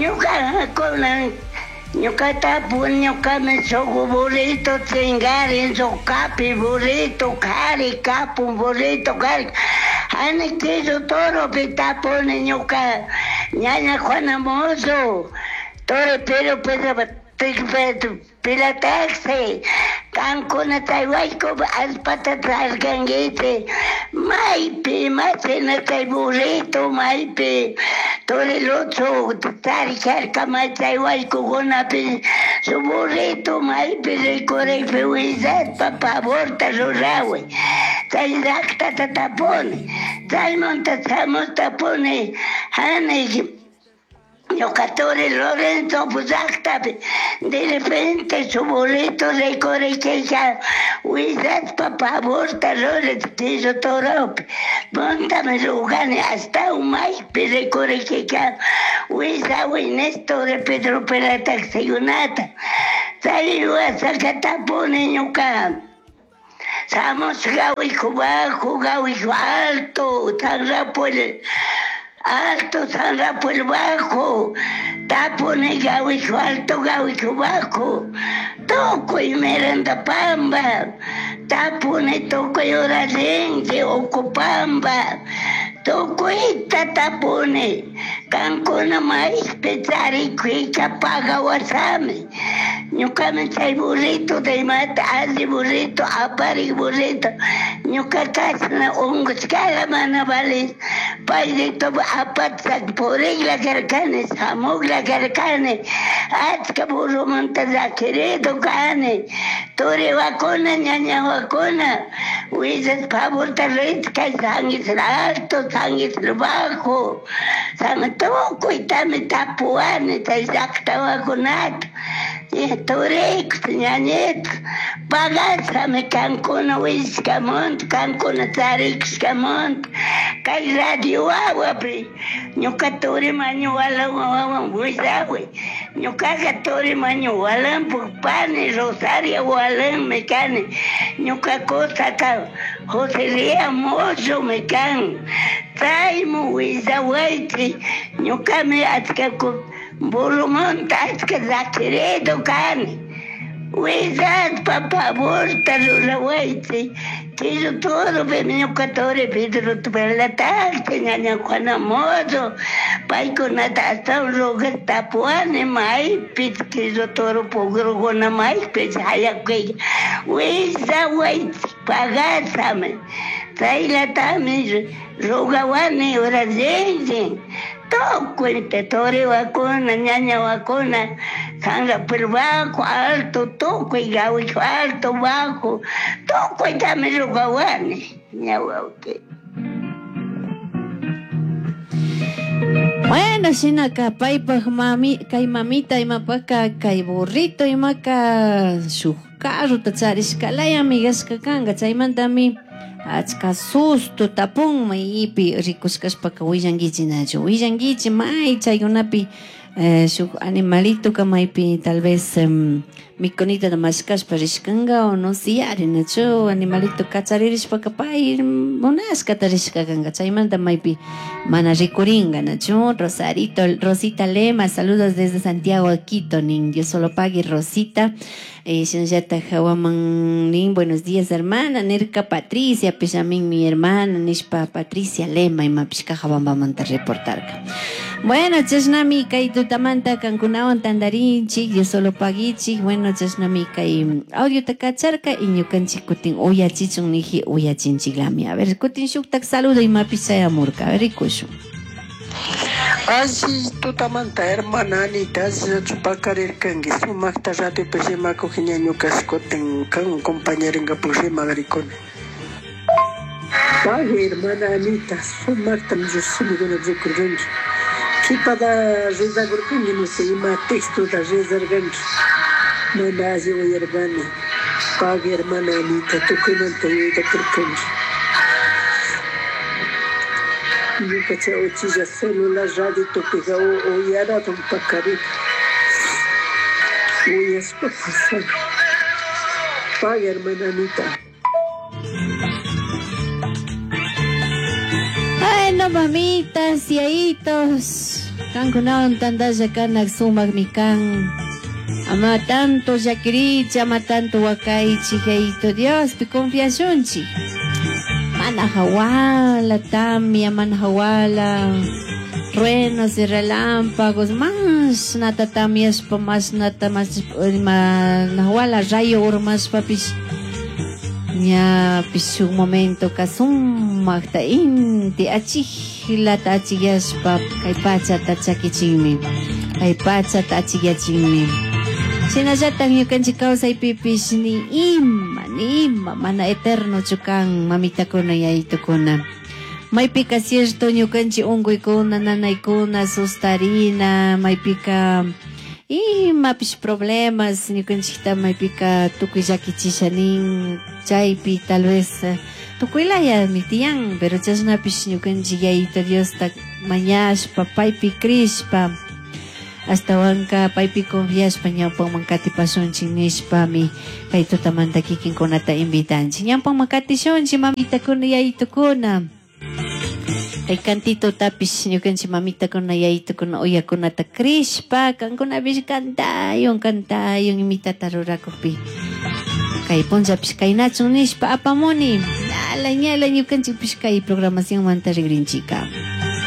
Ñuka kunan ñuka tapun ñukami shuk burrito chingarin shuk kapi burrito kari kapun burrito kari hani Quillo Toropi tapuni ñuka ñaña Juana Mozo Toro pero pilataxi kankuna chay wayku allpata trarkankichik maypi imashina chay burrito maypi Torilucho tarikarka may chay waykukunapi shuk burrito maypi rikurikpi willashpa favorta ruraway chay llaqtata tapuni chaymanta shamush tapuni hani ñuka turi Lorenzo llaqtapi de repente su burrito rikurikika willashpa favorta ruray Quillo Toropi puntami rugani ashtawan maypi rikurikika willaway Nestor Pedro Pelataxikunata chay wasaka tapuni ñuka shamush gawiku bajo gawiku alto San Rafael alto San Rafael bajo tapuni gawiku alto gawiku bajo tukuy Miranda Pamba tapuni tukuy Uralinki Ucupamba tukuyta tapuni kankuna maypi charikuyka pagawasami ñukami chay burrito imata alli burrito aparik burrito ñuka kashna unkushkala mana valish payrito apatsak purikla karkani shamukla karkani achka burrumanta llakirido kani turiwakuna ñañawakuna willash favorta rishka San Isidro alto San Isidro bajo San tukuytami tapuwani chay llaqtawakunata turikus ñañitus pagashami kankuna willashkamanta kankuna charikushkamanta kay radio wawapi ñuka turi mañu walan willaway ñukaqa turi mañu walanpuk pani Rosario walanmi kani ñuka kusaka José Lía Mozomi kan chaymu willawaychik ñukami achka burrumanta achka llakirido kani willashpa favorta rurawaychik Quillo Toropi ñuka turi Pedro Pelataxi ñaña Juana Mozo paykunata ashtawan rugash tapuwani maypi Quillo Toro pugrukuna maypi chayakuyka willawaychik pagashami chaylatami rugawani urasinchik tukuy turiwakuna ñañawakuna San Rafael bajo alto tukuy gawiku alto bajo tukuytami rugawani ñawawki. Bueno, shinaka paypaj mami kay mamita imapaka kay burrito imaka shuk carrota charishkalaya gashka kanka chaymantami achka susto tapun maypi rikushkashpaka willankichik nachu willankichik may chaykunapi shuk animalito maypi tal vez mikunita mashkashpa rishkanka o no siyari nachu animalito kacharirishpaka pay munashkata rishka kanka chaymanta maypi mana rikurinka nachu. Rosarito Rosita Lema, saludos desde Santiago de Quito, nin Dios solo pague Rosita. Shinallata hawaman nin buenos días hermana nirka Patricia pishamin mi hermana nishpa Patricia Lema imapish Cajabambamanta reportarka. Bueno, chashnami kay tutamanta kankunawan tantarinchik Dios solo paguichik. Bueno, chashnami kay audiota kacharka y ñukanchik kutin uyachichun niji uyachinchiklami. A ver, kutin shuktak saludo imapish chayamurka. A ver, rikushun. Alli tutamanta hermana Anita chupakarirkanki sumaqta radiopi rimakuq ñañukas kutin kan compañerinkapak rimagrikuni. Pagui hermana Anita sumaqtam llushimikuna rikurqanki qhipada rezakurqanki no sé ima textota rezarqanki mana alli uyarqani. Pagui hermana Anita tukuymanta yuyaytakurqanki. Ñuka chay uchilla celular radiopiqa uyaradun paqarin uyaspa pasani. Pagui hermana Anita. Bueno, mamitas y ahitos. Kankunawan tantalla kanak sumaqmi kan. Ama tanto llakirichi, ama tanto wakaychik, Yayito Diospi confiashunchik. Mana hawala tamia, mana hawala truenos y relámpagos, mashnata tamiashpa, mashnata ima hawala rayo urmashpapish ñapish shuk momento ka sumakta inti achiklata achikyashpa kay pachata chakichinmi, kay pachata achikyachinmi. Shinallatak ñukanchik kawsaypipish ni ima mana eternochu kan, mamitakuna, yayitukuna. Maypika cierto ñukanchik unkuykuna, nanaykuna, sustarina, maypika imapish problemas ñukanchikta maypika tukuy llakichisha nin, chaypi tal vez tukuylayami tiyan, pero chashnapish ñukanchik Yayito Diosta mañashpa, paypi crishpa, ashtawanka paypi confiashpa ñawpaman katipashunchik nishpami kay tutamanta kikinkunata invitanchik. Ñawpaman katishunchik, mamitakuna, yayitukuna. Kay cantitotapish ñukanchik mamitakuna, yayitukuna uyakunata crishpa, kankunapish cantayun, cantayun imitata rurakukpi. Kay punllapish kaynachun nishpa apamuni. Ñala, ñala ñukanchikpish kay programacionmanta rigrinchika.